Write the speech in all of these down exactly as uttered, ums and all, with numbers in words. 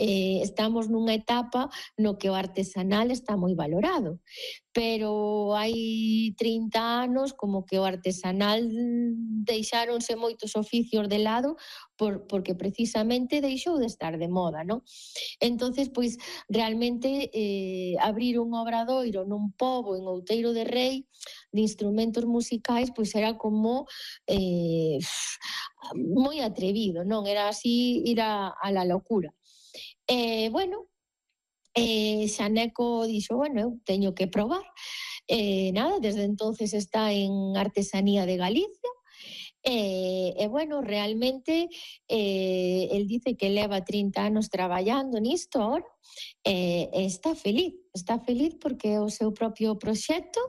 eh, estamos nunha etapa no que o artesanal está moi valorado, pero hai trinta anos como que o artesanal deixáronse moitos oficios de lado por, porque precisamente deixou de estar de moda, non? Entonces, pois, realmente eh, abrir un obradoiro nun pobo en Outeiro de Rei de instrumentos musicais, pois era como eh, moi atrevido, non? Era así ir a, a la locura. Eh, bueno, eh, Xaneco dixo, bueno, eu teño que probar. Eh, nada, desde entonces está en Artesanía de Galicia. E, e bueno, realmente eh, el dice que leva trinta anos traballando nisto ahora e, e está feliz, está feliz porque é o seu propio proxecto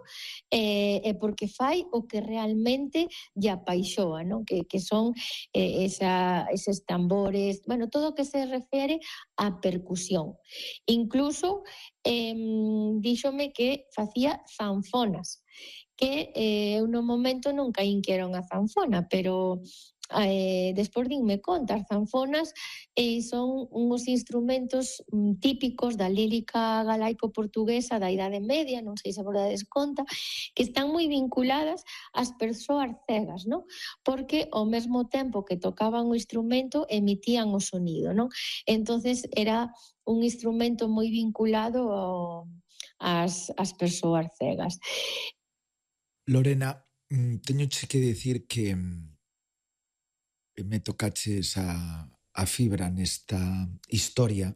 e, e porque fai o que realmente lle apaixoa, non? Que, que son eh, esa, eses tambores, bueno, todo o que se refere á percusión. Incluso eh, díxome que facía zanfonas, que eh, eu no momento non caín que era unha zanfona, pero eh, despois dinme conta, as zanfonas eh, son uns instrumentos mm, típicos da lírica galaico-portuguesa da Idade Media, non sei se vos dades conta, que están moi vinculadas ás persoas cegas, non? Porque ao mesmo tempo que tocaban o instrumento emitían o sonido, non? Entonces era un instrumento moi vinculado ao, ás, ás persoas cegas. Lorena, teñoche que decir que me tocaches a, a fibra nesta historia.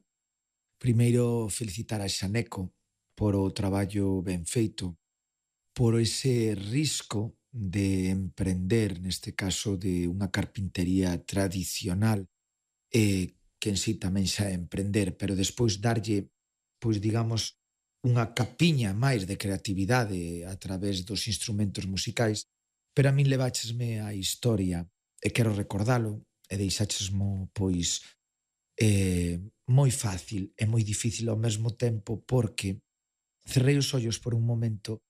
Primeiro, felicitar a Xaneco por o traballo ben feito, por ese risco de emprender, neste caso, de unha carpintería tradicional, eh, que en sí tamén xa é emprender, pero despois darlle, pois digamos, unha capiña máis de creatividade a través dos instrumentos musicais, pero a min leváchesme a historia e quero recordalo e deixáchesmo, pois, eh, moi fácil e moi difícil ao mesmo tempo porque cerrei os ollos por un momento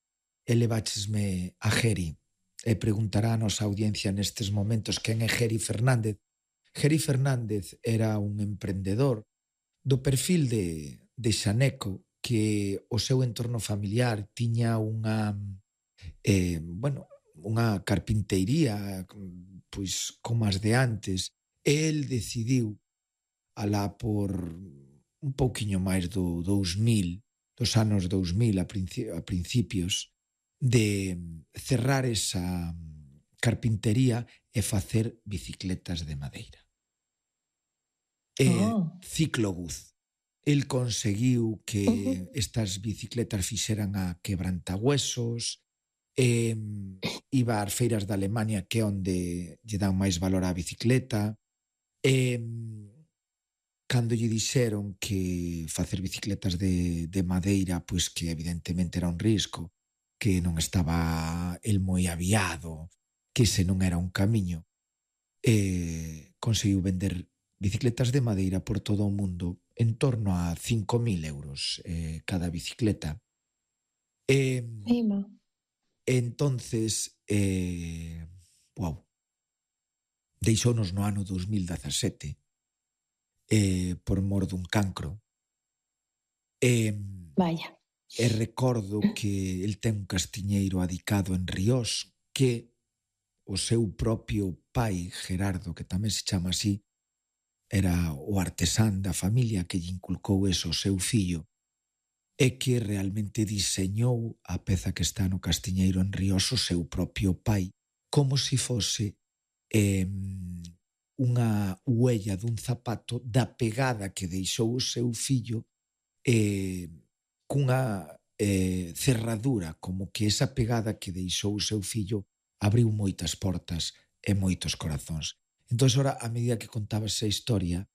e leváchesme a Geri e preguntará a nosa audiencia nestes momentos quen é Geri Fernández. Geri Fernández era un emprendedor do perfil de, de Xaneco, que o seu entorno familiar tiña unha eh, bueno, unha carpinteiría pois como as de antes, e el decidiu alá por un pouquiño máis do dous mil, dos anos dous mil a, princi a principios, de cerrar esa carpintería e facer bicicletas de madeira. E Oh. ciclobús. El conseguiu que estas bicicletas fixeran a quebrantahuesos, e iba ás feiras de Alemania, que é onde lle dan máis valor á bicicleta, e cando lle dixeron que facer bicicletas de, de madeira, pois que evidentemente era un risco, que non estaba el moi aviado, que ese non era un camiño, e conseguiu vender bicicletas de madeira por todo o mundo en torno a cinco mil euros eh, cada bicicleta. E, entonces, eh, wow, deixounos no ano dos mil dezasete eh, por mor dun cancro. E, Vaya. E recordo que el ten un castiñeiro adicado en Riós que o seu propio pai, Gerardo, que tamén se chama así, era o artesán da familia que lle inculcou eso ao seu fillo e que realmente diseñou a peza que está no castiñeiro en Riós o seu propio pai, como se fose eh, unha huella dun zapato da pegada que deixou o seu fillo eh, cunha eh, cerradura, como que esa pegada que deixou o seu fillo abriu moitas portas e moitos corazóns. Entón, ora, a medida que contaba esa historia,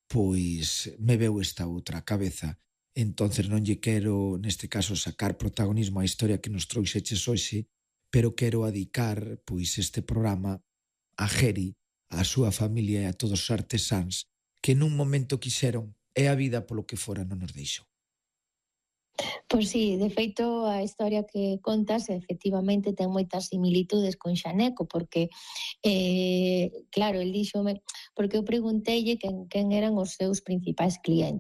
pois me veu esta outra cabeza. Entonces non lle quero, neste caso, sacar protagonismo á historia que nos trouxeches hoxe, pero quero adicar, pois, este programa a Geri, a súa familia e a todos os artesáns que nun momento quixeron e a vida polo que fora non nos deixou. Pois sí, de feito, a historia que contas efectivamente ten moitas similitudes con Xaneco, porque, eh, claro, el díxome, porque eu pregunteille quen quen eran os seus principais clientes.